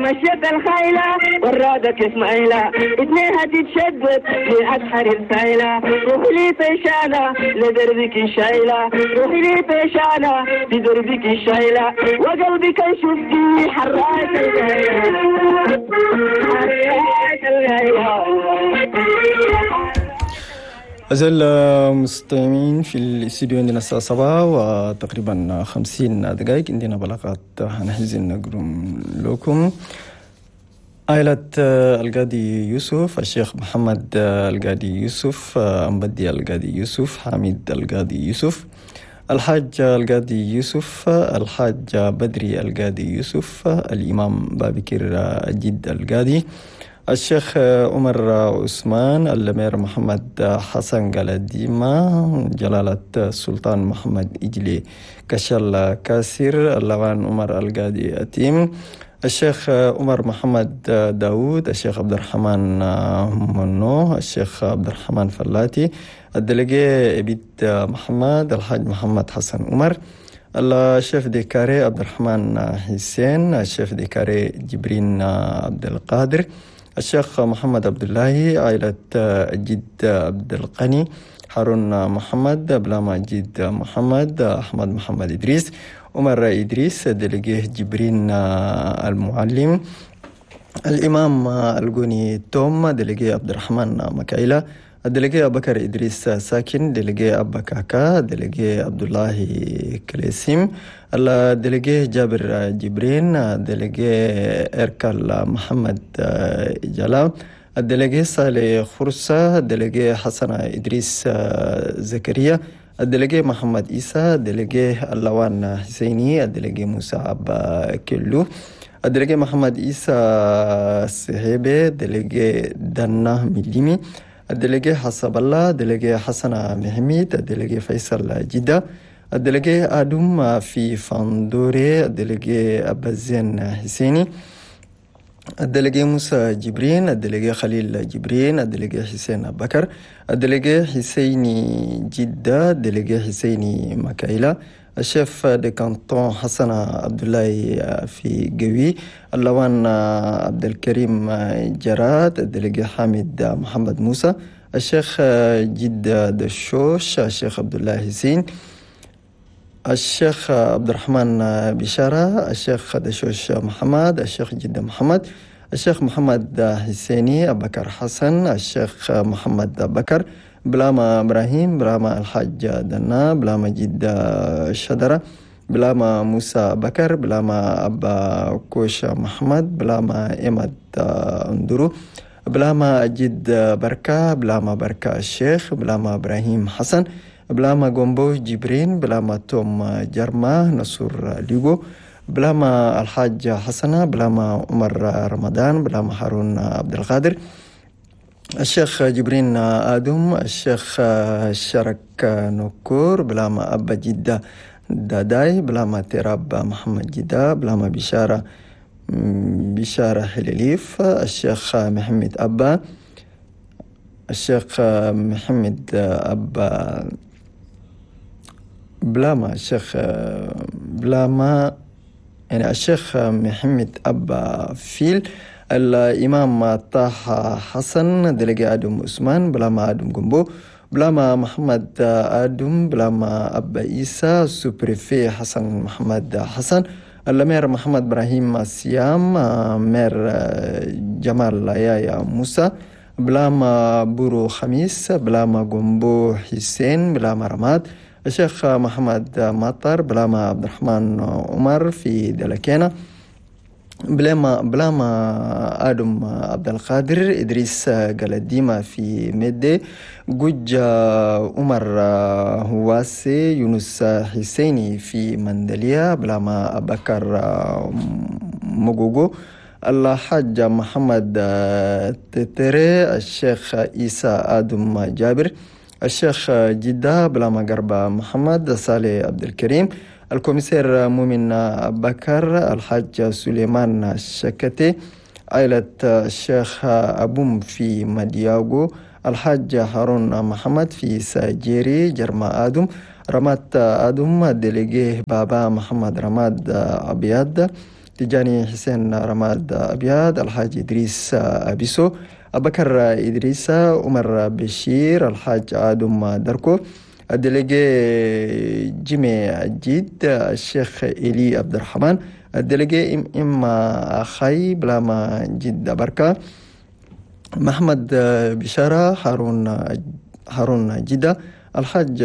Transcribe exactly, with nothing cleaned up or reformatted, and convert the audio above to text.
مشيت الخيلة والرادة اسماعيلة اتنيها تتشدد لأسحر الفايلة روحي لي فيشانة لدربك شايلة روحي لي فيشانة لدربك شايلة وقلبي كان شفتي حراك الغيلة حراك الغيلة. أزال مستمعين في الاستديو عندنا الساعة سبعة وتقريبا خمسين دقائق، عندنا بلاغات هنحزن نقرم لكم. عائلة القاضي يوسف، الشيخ محمد القاضي يوسف، أمبدي القاضي يوسف، حميد القاضي يوسف، الحاج القاضي يوسف، الحاج بدري القاضي يوسف، الإمام بابكر الجد القاضي، الشيخ عمر عثمان، الأمير محمد حسن قلديمة، جلالة السلطان محمد إجلي كشل كاسر، اللوان عمر القاضي أتيم، الشيخ عمر محمد داود، الشيخ عبد الرحمن منو، الشيخ عبد الرحمن فلاتي، ال délégué عبيد محمد، الحاج محمد حسن عمر، ال chef de carré عبد الرحمن حسين، ال chef de carré جبرين عبد القادر، الشيخ محمد عبد الله، عائلة الجد عبد القني، هارون محمد، بلاما جد محمد، أحمد محمد إدريس، عمر إدريس، délégué جبرين المعلم، الإمام الجوني توم، délégué عبد الرحمن مكايلة، ال délégué أبو بكر إدريس ساكن، délégué أبا كاكا، délégué عبد الله كليسيم، ال délégué جابر جبرين، délégué إركال محمد جلال، ال délégué صالح خرسة، délégué حسن إدريس زكريا، ال délégué محمد إيسى، délégué اللوان حسيني، ال délégué موسى أبا كيلو، ال délégué محمد إيسى سهيبي، délégué دنا مليمي، ال délégué حسب الله، délégué حسن محميد، ال délégué فيصل جدة، ال délégué آدم في فاندوري، ال délégué أبزين حسيني، ال délégué موسى جبرين، ال délégué خليل جبرين، ال délégué حسين بكر، ال délégué حسيني جدة، ال délégué حسيني مكايلة، ال chef de canton حسن عبد الله في قوي، اللوان عبد الكريم جراد، ال délégué حامد محمد موسى، الشيخ جد دشوش، الشيخ عبد الله حسين، الشيخ عبد الرحمن بشارة، الشيخ دشوش محمد، الشيخ جد محمد، الشيخ محمد حسيني بكر حسن، الشيخ محمد بكر، بلاما إبراهيم، بلاما الحاج دنا، بلاما جد شدرة، بلاما موسى بكر، بلاما أبا كوش محمد، بلاما إمد اندرو، بلاما جد بركة، بلاما بركة الشيخ، بلاما إبراهيم حسن، بلاما جومبو جبرين، بلاما توم جرما نصر ليغو، بلاما الحاج حسنة، بلاما عمر رمضان، بلاما هارون عبد القادر، الشيخ جبرين آدم، الشيخ شرك نكور، بلاما أبا جدة داداي، بلاما تراب محمد جدة، بلاما بشارة بشارة حليليف، الشيخ محمد أبا، الشيخ محمد أبا، بلاما الشيخ بلاما يعني الشيخ محمد أبا فيل، الإمام طه حسن، délégué آدم عثمان، بلاما آدم جنبو، بلاما محمد آدم، بلاما أبا إيسى، sous-préfet حسن محمد حسن، ال maire محمد إبراهيم سيام، maire جمال يايا موسى، بلاما بورو خميس، بلاما جنبو حسين، بلاما رماد، الشيخ محمد مطر، بلاما عبد الرحمن عمر في دلكينا، بلاما بلاما آدم عبد القادر، إدريس قلديمة في مدي، جوج عمر هواسي، يونس حسيني في مندليا، بلاما بكر مغوغو، الحاج محمد تتري، الشيخ عيسى آدم جابر، الشيخ جدة، بلاما قربة محمد صالح عبد الكريم، ال commissaire مؤمن بكر، الحاج سليمان الشكتي، عائلة الشيخ أبوم في مدياغو، الحاج هارون محمد في ساجيري، جرما آدم، رمات آدم، délégué بابا محمد رماد أبيض، تجاني حسين رماد أبيض، الحاج إدريس أبيسو، أبكر إدريس، عمر بشير، الحاج آدم دركو، ال délégué جيمي الجيد، الشيخ إلي عبد الرحمن، ال délégué إم إم أخي بلاما جد بركة، محمد بشارة، هارون هارون جدة، الحاج